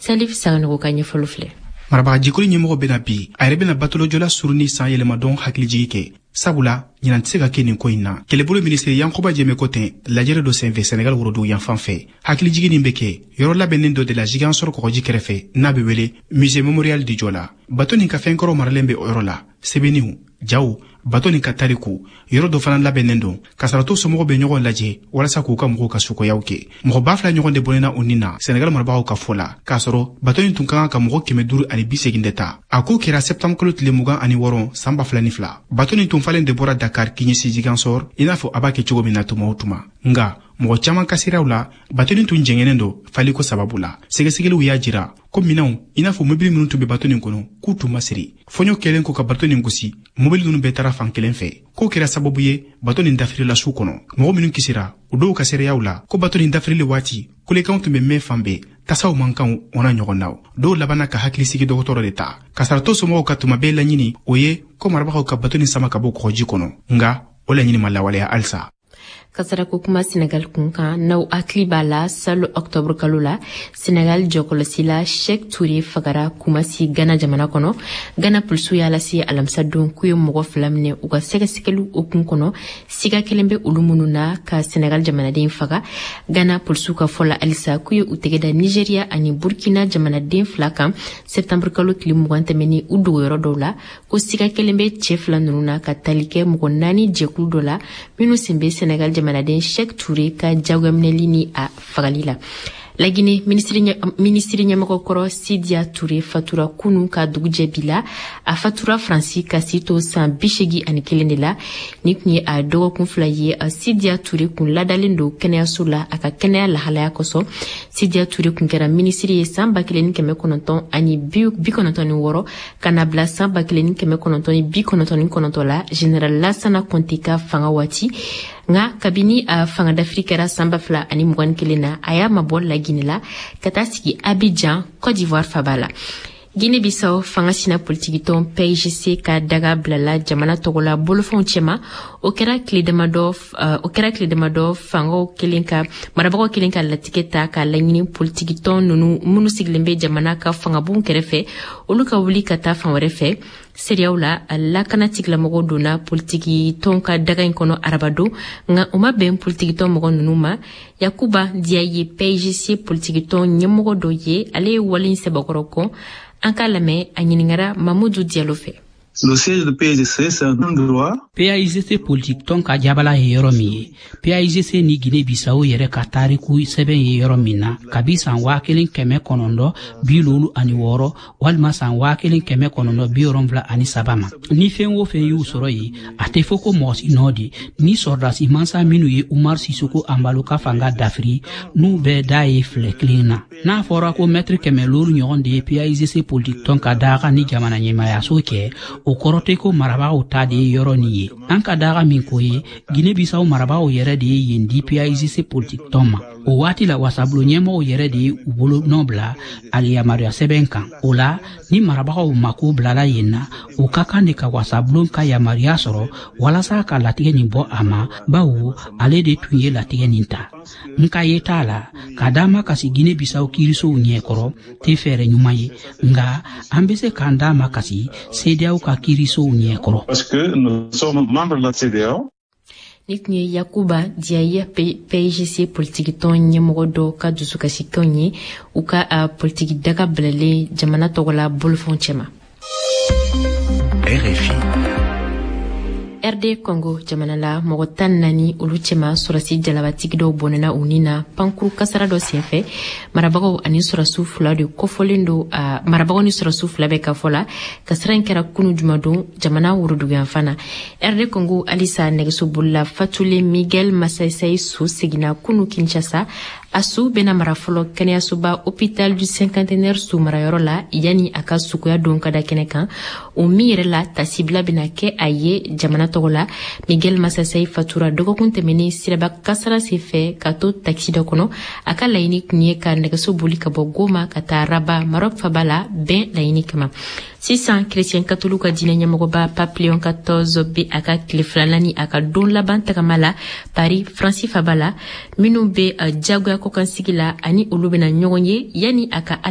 Salif Sanogo ka ɲɛfɔli filɛ. Marabagajɛkulu ɲɛmɔgɔ bɛna bi, a yɛrɛ bɛna batolojɔla suruni san yɛlɛmadɔn hakilijigi kɛ, sabula ɲinan tɛ se ka kɛ nin ko in na. Kɛlɛbolo minisiri Yankuba Jɛmɛ ko ten lajɛrɛ dɔ senfɛ Senegal worodugu yanfan fɛ. Hakilijigi nin bɛ kɛ yɔrɔ labɛnnen dɔ de la Ziguinchor kɔgɔji kɛrɛfɛ, n'a bɛ wele Musée Mémorial du Joola. Bato nin ka fɛnkɔrɔ maralen bɛ o yɔrɔ la, sɛbɛnniw, jaw, bato nin ka tariku. Yɔrɔ dɔ fana labɛnnen don kasaratɔ somɔgɔw bɛ ɲɔgɔn lajɛ walasa k'u ka mɔgɔw ka sukoyaw kɛ. Mɔgɔ 2000 ɲɔgɔn de bɔnɛna u ni na Senegal marabagaw ka fɔ la, k'a sɔrɔ bato nin tun ka kan ka mɔgɔ 580 de ta. A ko kɛra septembre kalo tile 26 san 2002. Bato nin tun falen de bɔra Dakar k'i ɲɛsin Ziguinchor, i n'a fɔ a b'a kɛ cogo min na tuma o tuma. Nga mɔgɔ caman ka siraw la, bato nin tun jɛngɛnnen don faliko sababu la. Sɛgɛsɛgɛliw y'a jira ko minɛnw, i n'a fɔ mobili minnu tun bɛ bato nin kɔnɔ, k'u tun ma siri. Fɔɲɔ kɛlen ko ka bato nin gosi, mobili ninnu bɛɛ taara fan kelen fɛ. K'o kɛra sababu ye bato nin dafirila su kɔnɔ. Mɔgɔ minnu kisira, o dɔw ka seereyaw la ko bato nin dafirili waati, kulekanw tun bɛ mɛn fan bɛɛ, tasaw mankanw o n'a ɲɔgɔnnaw. Dɔw labanna ka hakilisigi dɔgɔtɔrɔ de ta. Kasaratɔ somɔgɔw ka tuma bɛɛ laɲini o ye ko marabagaw ka bato nin sama ka bɔ kɔgɔji kɔnɔ, nka o laɲini ma lawaleya halisa. Kasarako kuma Senegal kun kan, n'aw hakili b'a la, salo octobre kalo la, Senegal jɔkɔlɔsila Sheikh Touré fagara Kumasi, Ghana jamana kɔnɔ. Ghana polisiw y'a lase alamisa don k'u ye mɔgɔ 2 minɛ u ka sɛgɛsɛgɛliw hukumu kɔnɔ, siga kelen bɛ olu minnu na ka Senegal jamanaden faga. Ghana polisiw ka fɔ la halisa k'u ye u tɛgɛ da Nigeria ani Burkina jamanaden 2 kan septembre kalo tile 20 tɛmɛni u dogoyɔrɔ dɔw la, ko siga kelen bɛ cɛ 2 ninnu na ka tali kɛ mɔgɔ 4 jɛkulu dɔ la minnu sen bɛ Senegal jamanaden Sheikh Touré ka jagoyaminɛli ni a fagali la. Lagine minisiri ɲɛmɔgɔ kɔrɔ Sidia Touré fatura kunu ka dugujɛ bi la. A fatura Faransi ka si to san 81 de la. Ni tun ye a dɔgɔkun 2 ye, Sidia Touré kun ladalen don kɛnɛyaso la a ka kɛnɛya lahalaya kosɔn. Sidia Touré kun kɛra minisiri ye san 1996 ka na bila san 1999 la Général Lassana Conté ka fanga waati. Nka kabini a fanga dafiri kɛra san 2021 na, a y'a mabɔ Laginɛ la ka taa sigi Abidjan, Côte d'Ivoire faba la. Guinée-Bissau fanga sina politikitɔn PAIGC ka daga bilala jamana tɔgɔ la bolofɛnw cɛma. O kɛra tile damadɔ fangaw kelen ka marabagaw kelen ka latigɛ ta ka laɲini politikitɔn ninnu minnu sigilen bɛ jamana ka fangabon kɛrɛfɛ, olu ka wuli ka taa fan wɛrɛ fɛ. Seereyaw la, lakana tigilamɔgɔw donna politikitɔn ka daga in kɔnɔ arabadon, nka o ma bɛn politikitɔn mɔgɔ ninnu ma. Yakuba Diaye, PAIGC politikitɔn ɲɛmɔgɔ dɔ ye, ale ye wale in sɛbɛkɔrɔ kɔn. An k'a lamɛn, a ɲininkara Mamudu Diallo fɛ. Le siège de PAIGC, c'est un endroit. PAIGC politique tɔn ka jabala ye yɔrɔ min ye, PAIGC ni Guinée-Bissau yɛrɛ ka tariku sɛbɛn ye yɔrɔ min na, kabi san 1956 walima san 1973 ma. Ni fɛn o fɛn y'u sɔrɔ yen, a tɛ fɔ ko mɔgɔ si nɔ de. Ni sɔrɔdasi mansa minnu ye Umar Sissoco Embaló ka fanga dafiri, n'u bɛɛ da ye filɛ kelen na. N'a fɔra ko mɛtiri 500 ɲɔgɔn de ye PAIGC politique tɔn ka daga ni jamana ɲɛmaayaso cɛ, o kɔrɔ tɛ ko marabagaw ta de ye yɔrɔ nin ye. An ka daga min ko ye, Guinée-Bissau marabagaw yɛrɛ de ye yen di PAIGC politique tɔn ma. O waati la, wasabulon ɲɛmɔgɔw yɛrɛ de ye u bolo nɔ bila ali yamaruya sɛbɛn kan. O la, ni marabagaw mako bilala yen na, u ka kan de ka wasabulon ka yamaruya sɔrɔ walasa ka latigɛ nin bɔ a ma, bawo ale de tun ye latigɛ nin ta. N ka ye t'a la ka d'a ma kasi Guinée-Bissau kiirisow ɲɛkɔrɔ tɛ fɛɛrɛ ɲuman ye, nka an bɛ se k'an d'a ma kasi CEDEAO ka kiirisow ɲɛkɔrɔ. Parce que nous sommes membres de la CEDEAO. Ni tun ye Yakuba Diaye, PAIGC politikitɔn ɲɛmɔgɔ dɔ ka dusukasikanw ye u ka politiki daga bilalen jamana tɔgɔ la bolofɛnw cɛma. RFI. RD Congo jamana la, mɔgɔ 14 olu cɛma sɔrɔsi jalabatigi dɔw bɔnɛna u ni na pankuru kasara dɔ senfɛ. Marabagaw ani sɔrɔsiw 2 de kɔfɔlen don. Marabagaw ni sɔrɔsiw 2 bɛ ka fɔ la, kasara in kɛra kunu jumadon jamana woroduguyanfan na. RD Congo halisa, nɛgɛsobolila fatulen Miguel Masaisai su seginna kunu Kinshasa. A su bɛna mara fɔlɔ kɛnɛyasoba Hôpital du Cinquantenaire su marayɔrɔ la yanni a ka sukoya don ka da kɛnɛ kan, o min yɛrɛ la tasibila bɛna kɛ a ye jamana tɔgɔ la. Miguel Masaisai fatura dɔgɔkun tɛmɛnen siraba kasara senfɛ ka to takisi dɔ kɔnɔ. A ka laɲini tun ye ka nɛgɛso boli ka bɔ Goma ka taa Rabat, Maroc faba la, bɛn laɲini kama. Sisan, chrétien katoliw ka diinɛ ɲɛmɔgɔba Pape Léon XIV bɛ a ka tile filanan ni a ka don laban tagama la Paris, Faransi faba la. Minnu bɛ jagoya kɔkansigi la ani olu bɛna ɲɔgɔn ye yanni a ka ala